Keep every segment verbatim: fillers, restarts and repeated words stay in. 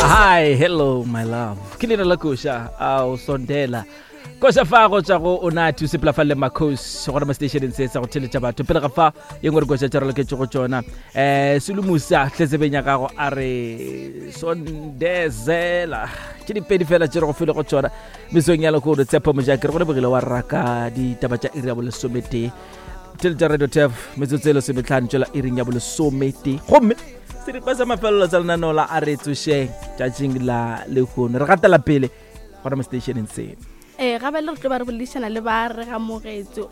Hi, hello my love. Ke leina la koša ao sondela koša fa go tswa go Unathi o sepela fa le Makhosi gona mo stationeng se sa go theletša batho. Pele ga fa ye nngwe re koša tša re loketše go tšona. um Selumusa tletsebeng ya gago a re sondezela ke dipedi fela tše re go file go tšona mesong ya lehono. Tshepo Mojake re go lebogile wa raka ditaba tša iri ya bolesometee. Theletša Radio Tef metsotso e lesometlhano tšwela iring ya bolesometee, gomme seripa sa mafelelo sa lenaneo la A Re Tsošeng tšatšing la lehono re gatela pele gona mo stationeng se. Ee, gabe le re tlo ba re boledišana le ba Re Amogetswe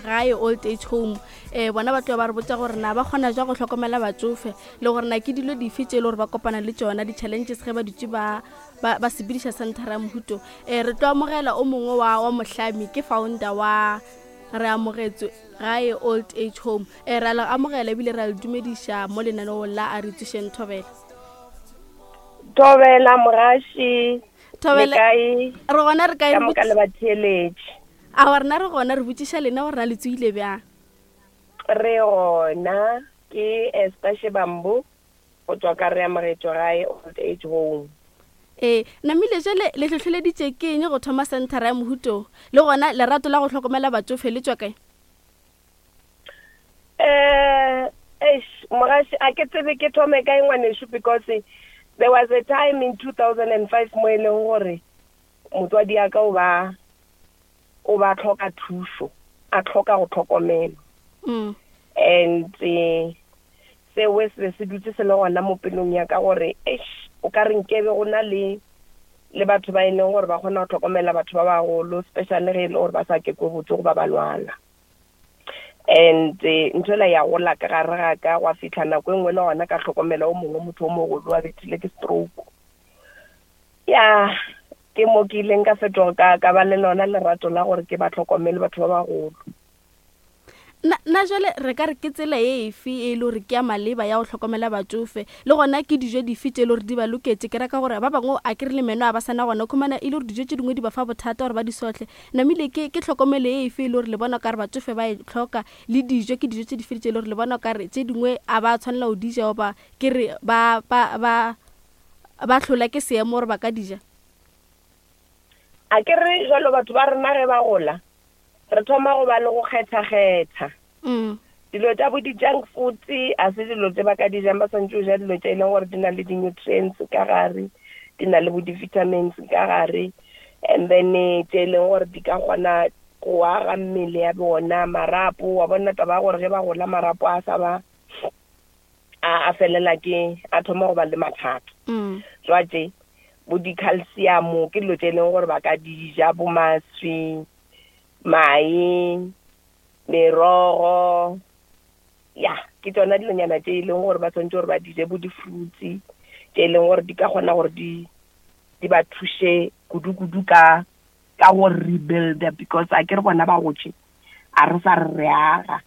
Gae Old Age Home. um bona ba tlo ba re botsa gore na ba kgona jwa go hlokomela batsofe, le gore na ke dilo dife tše e le gore ba kopana le tšona, di-challenges, ge ba dutse ba ba ba sepediša centera ya mohuto. um re tlo amogela o mongwe wa wa mohlami, ke founder wa Re Amogetswe Gae Old Age Home. um re a le amogela ebile re a le dumediša mo lenaneong la A Re Tsošeng. Thobela. Thobela, mogaši. Thobela. Le kae? Re gona, re kae? Ka moka le batheeletši? A rena re gona, re botšiša lena gore na le tsoile bjang? Re gona. Ke Esther Shebambo go tswa ka Re Amogetšwe Gae Old Age Home. Ee, namile jale le hlohleleditše ke eng go thoma centera ya mohuto, le gona lerato la go hlokomela batsofe le tswa kae? um eish, mogaši, a ke tsebe ke thome kae, ngwanešu, because there was a time in two thousand and five mo e leng gore motswadi ya ka o ba o ba tlhoka thušo, a tlhoka go tlhokomelwa. mm. And eh, seo se be se dutse se le gona mo pelong ya ka gore eish, o ka re nkebe go na le le batho ba e leng gore ba kgona go tlhokomela batho ba bagolo, especially ge e le gore ba sa kekwe botse goba ba lwala. And eh, ntho ela ya gola ka gare ga ka, gwa fitlha nako e nngwe le gona ka tlhokomela o mongwe motho o mogolo a bethile ke stroke. Ya ke mo ke ileng ka fetoga ka ka ba le lona lerato la gore ke ba tlhokomele batho ba bagolo. na na jale re ka re ke tsela e efe e le gore ke ya maleba ya go hlokomela batsofe, le gona ke dijo dife tše e le gore di ba loketse? Ke raka gore ba bangwe a ke re le meno a ba sana gona, khumana e le gore dijo tše dingwe di ba fa bothata gore ba di sohle. Namile ke ke tlhokomelo e efe e le gore le bona ka re batsofe ba e tlhoka, le dijo ke dijo tše di fe tše e le gore le bona ka re tše dingwe a ba tshwanela go di ja, goba ke re ba ba ba ba hlola ke seemo gore ba ka di ja? A ke re jalo batho ba rena ge ba gola re thoma go ba le go kgetha-kgetha. mm. Dilo tša bo di-junk food a se dilo tse ba ka di jang. Ba swantse go ja dilo tše e leng gore di na le di-nutrients ka gare, di na le bo di-vitamins ka gare, and then eh, tše e leng gore di ka kgona go aga mmele ya bona, marapo wa bona. Taba ya gore ge ba gola marapo a sa ba a a felela ke a thoma go ba le mathata. Mm. Jwatše bo di-calcium ke dilo tše e leng gore ba ka di ja, bo maswi, mae, merogo. Ya ke tsona dilonyana tše e leng gore ba tshwanetse gore ba di je, bo di-fruits tše e leng gore di ka kgona gore di di ba thuše kudu-kudu ka ka go rebuilda, because a ke re bona ba gotše, a re sa re re aga,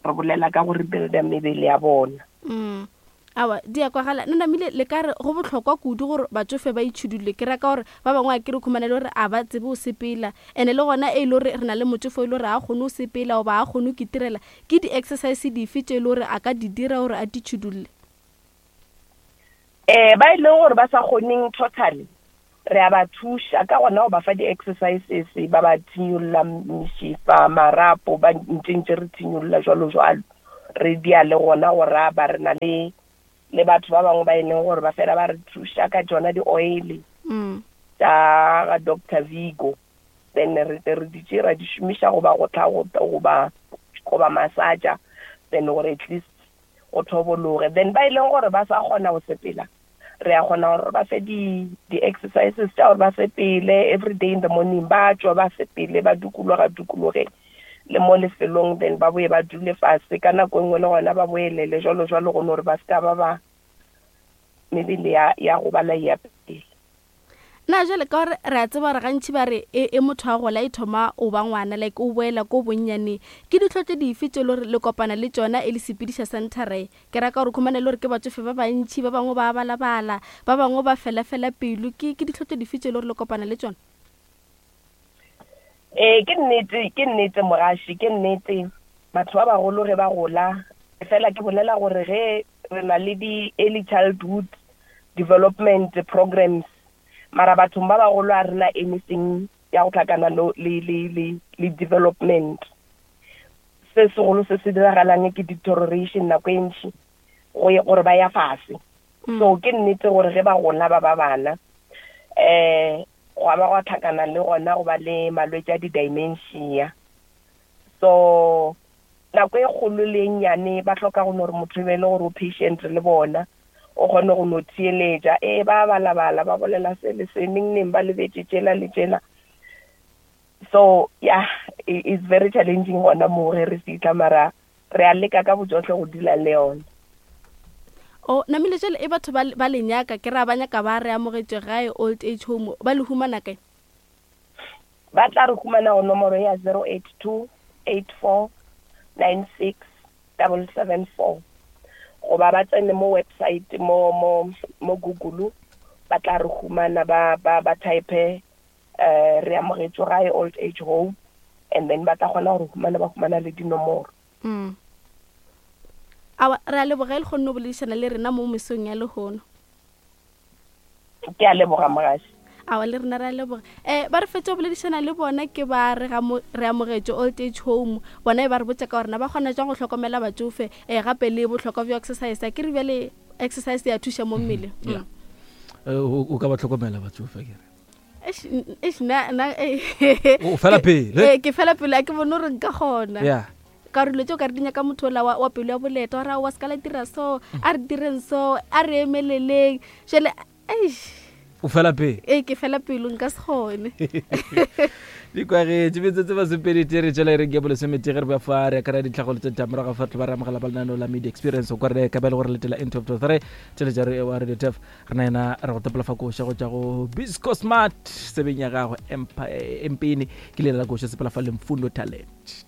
re bolela ka go rebuilda mebele ya bona. mm. awa di a kwagala. Nna namile le ka re go bohlokwa kudu gore batsofe ba itšhidule? Ke raka gore ba bangwe a ke re khumana le gore a ba tsebe go sepela, and-e le gona e le gore re na le motsofe e le gore a kgone go sepela goba a kgone go kitirela, ke di-exercise dife tše e le gore a ka di dira gore a ditšhidulle? um ba e leng gore ba sa kgoneng totally, re a ba thuša ka gona go ba fa di-exercises, ba ba thinyolola mešifa, marapo, ba ntse ntse re thinyolola jwalo jwalo. Re dia le gona go raba, re na le le batho ba bangwe ba e leng gore ba fela ba re thuša ka tsona di-oil mm. tša ga Doctor Vigo, then re tle re di tše ra di šomiša goba go tla go goba goba massager, then gore at least go thobologe. Then ba e leng gore ba sa kgona go sepela, re a kgona gore ba fe di di-exercises tša gore ba sepele every day in the morning, ba tswa ba sepele, ba dukologa dukologe le mo lefelong, then ba boe ba dule fase ka nako e nngwe, le gona ba boelele jwalo jwalo, go no gore ba se ka ba ba mebele ya ya gobala ya pele. Na jale ka gore re a tseba gore gantši ba re e, e motho a gola e thoma o ba ngwana, like o boela ko bonnyaneng, ke ditlhotlo dife tše le gore le kopana le tšona e le sepediša centera e? Ke raka gore khumane le gore ke batsofe ba bantšhi, ba bangwe ba balabala, ba bangwe ba felafela pelo. ke ke ditlhotlo dife tše le gore le kopana le tšona? Ee, ke nnete, ke nnete, mogaši, ke nnete. Batho ba bagolo ge ba gola, fela ke bolela gore ge re na le di-early childhood development programs mara bathong ba bagolo a rena anything ya go tlhakana le le le le development. Se segolo se se diragalang ke deterioration nako e ntši go ye gore ba ya fase. So ke nnete gore ge ba gola ba ba bana eh go ba go tlhakana le gona go ba le malwetse a di-dementia. So nako e kgolo le nnyane ba hloka go no re motho e be le gore o patient le bona, o kgone go no theeletša. E ba balabala ba bolela se le se neng neng ba lebetse tšela le tšela. So yeah, it's very challenging gona mo ge re fihla, mara re a leka ka bojohle go dula le yona. O namile jale e batho ba ba le nyaka ke ra ba nyaka ba re amogetše gae old age home, ba le humana kae? Ba tla re humana go nomoro ya zero eight two eight four nine six double seven four, goba ba tsene mo website mo mo mo Google, ba tla re humana ba ba ba type eh re amogetšwe gae old age home, and then ba tla kgona gore humana ba humana le dinomoro. Mm. Awa, re a leboga le kgonne go boledišana le rena mo mesong ya lehono. Ke a leboga mogaši. Awa, le rena re a leboga. Eh ba re fetše go boledišana le bona ke ba re re amogetše old age home, bona e ba re botša ka gore na ba kgona jang go hlokomela batsofe, eh gape le bohlokwa bja exercise. Ke re bjale exercise ya thuša mo mmeleng. Yeah. O ka ba hlokomela batsofe ke re. Eish, eish, na na o fela pele. Eh ke fela pele, a ke bone gore nka kgona. Yeah. Ka re dilo tšeo ka re di nyaka motho ola wa, wa pelo ya boleta, wa ra wa se ka la dira so, a re direng so, a re emeleleng. Jwale, eish. O fela pele? Ee, ke fela pelo, nka se kgone. Di kwagetše metsotso masomepedi tee re tšwela e reng ke bolesometee ge re ba fa re akara ditlhagolo tše morago fa ba re amogela ba lenaneo la media experience kwa re ka ba le gore letela into of three tšheletša re wa radio tef re na yena re go tepela fa koša go tša go Bisco Smart sebeng ya gagwe Empini ke lela la koša sepela fa le Mfundo Talent.